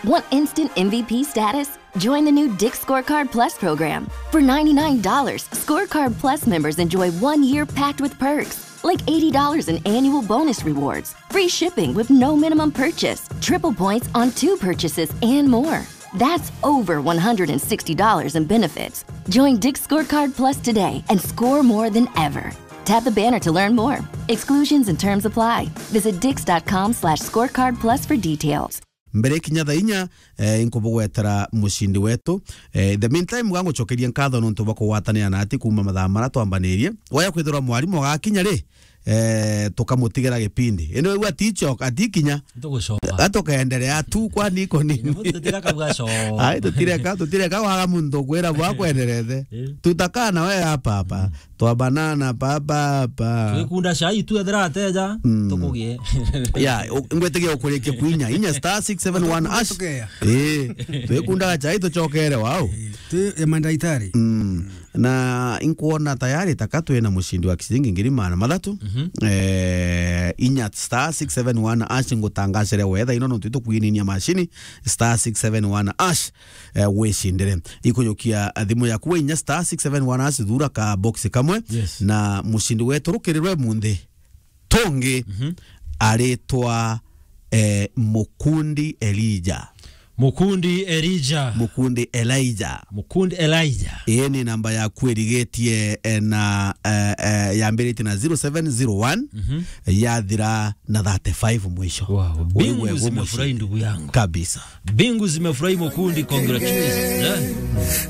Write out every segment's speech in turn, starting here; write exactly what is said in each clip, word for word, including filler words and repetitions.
Want instant M V P status? Join the new Dick's Scorecard Plus program. For ninety-nine dollars, Scorecard Plus members enjoy one year packed with perks, like eighty dollars in annual bonus rewards, free shipping with no minimum purchase, triple points on two purchases, and more. That's over one hundred sixty dollars in benefits. Join Dick's Scorecard Plus today and score more than ever. Tap the banner to learn more. Exclusions and terms apply. Visit dicks.com slash scorecard plus for details. Mbere kinya thaa inya, eh, inkubugwetera mucindi wetu. Eh, in the meantime, gangucokeria nkatho nontu bwa kugwatanira nati kuuma mathaa mara twambanirie. Waya kwithirwa mwarimu agakinya ri, eh, tukamutigira gipindi. Indi wigua aticoka, atikinya, Tugucoka. Atukaendelea tu, kwani iko nini? Tutireka bwaco. Ai, tutireka, tutireka waga muntu kwira bwa kwenderete. Eh. Tutakaa na we hapa hapa. Twabanana papa hapa. Twikunda cai tu ethira ateja, Mm. tukugie. Ya, u-, ngwetigia ukurikia kuinya. Inya star six seven one hash. Tukeya. Eh, twikundaga cai tucokere wau. Eh, twi ya mandaitari. Mm. Na inkuona tayari taka twina mucindi wa ciringi ngiri magana mathatu. Mhm. Eh, inya star six seven one hash ngutangacire wetha ino nontu itukwininia macini star six seven one hash. Eh, wicindire. Ikujukia thimu yaku we inya star six seven one hash, thura ka box kamwe. Yes. Na mucindi wetu rukirirwe munthi tungi Mhm. aritwa, eh, Mukundi Elijah. Mukundi Elijah. Mukundi Elijah. Mukundi Elijah. Ii ni namba yaku irigitie, eh, na, eh, eh, yambiritie na zero seven zero one, Mhm. yathira na thirty-five mwisho. Wow. Mbingu zimefurahi, ndugu yangu. Kabisa. Mbingu zimefurahi, Mukundi, congratulations.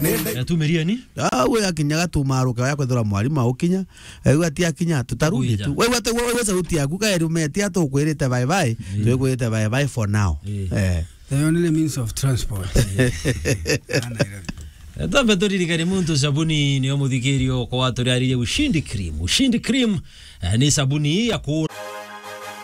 Eh? Yatumirie ni? Ah, we akinyaga tumaruke ya kwethira mwarimu aukinya. Ewe ati akinya, tutarudi Kuija. Tu. Wewe ati, wewe sauti yaku kaeri umetia tukwirite bye bye. Mm. Tukwirite bye bye for now. Eh. Eh. The only means of transport. Twambe turirikane muntu sabuni nio muthikirio kwa turiaririe Ushindi Cream. Ushindi Cream, eh, ni sabuni ya ku-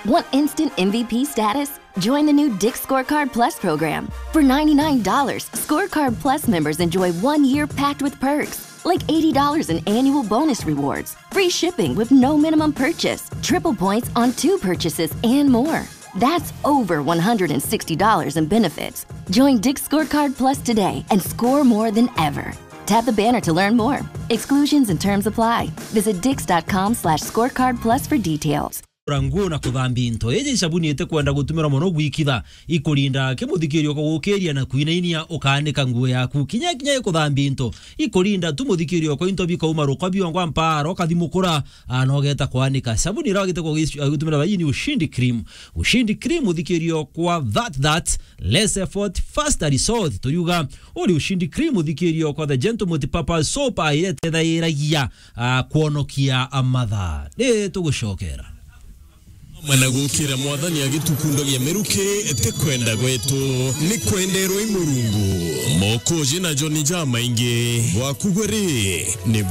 Want instant M V P status? Join the new Dick's Scorecard Plus program. For ninety-nine dollars, Scorecard Plus members enjoy one year packed with perks, like eighty dollars in annual bonus rewards, free shipping with no minimum purchase, triple points on two purchases, and more. That's over one hundred sixty dollars in benefits. Join Dick's Scorecard Plus today and score more than ever. Tap the banner to learn more. Exclusions and terms apply. Visit dicks.com slash scorecard plus for details. Kura nguo na kuthambia into. Iji sabuni itikwenda gutumira mono gwikitha. Ikurinda kimuthikirio kwa gukiria na kwinainia ukaanika nguo yaku. Kinya kinya ikuthambia into. Ikurinda tu muthikirio kwa into bikauma rukwa biongwa mpara, ukathimukura, ah, na ugeta kwanika. Sabuni ira wagite kwa gis-, ah, gutumira bai ni Ushindi Cream. Ushindi Cream, muthikirio kwa that, that, less effort, faster result. Turiuga, uri Ushindi Cream, muthikirio kwa the Gentle Multipurpose Soap, ah, iria itethairagia, ah, kwonokia, ah, mathaa. Ni tugucokera. Amwe na gukira Mwathani agitukundagia miruki, ti kwenda gwetu, ni kwenderwa i Murungu. Mokoji na Joni jamaingi, gwaku gwe ri, ni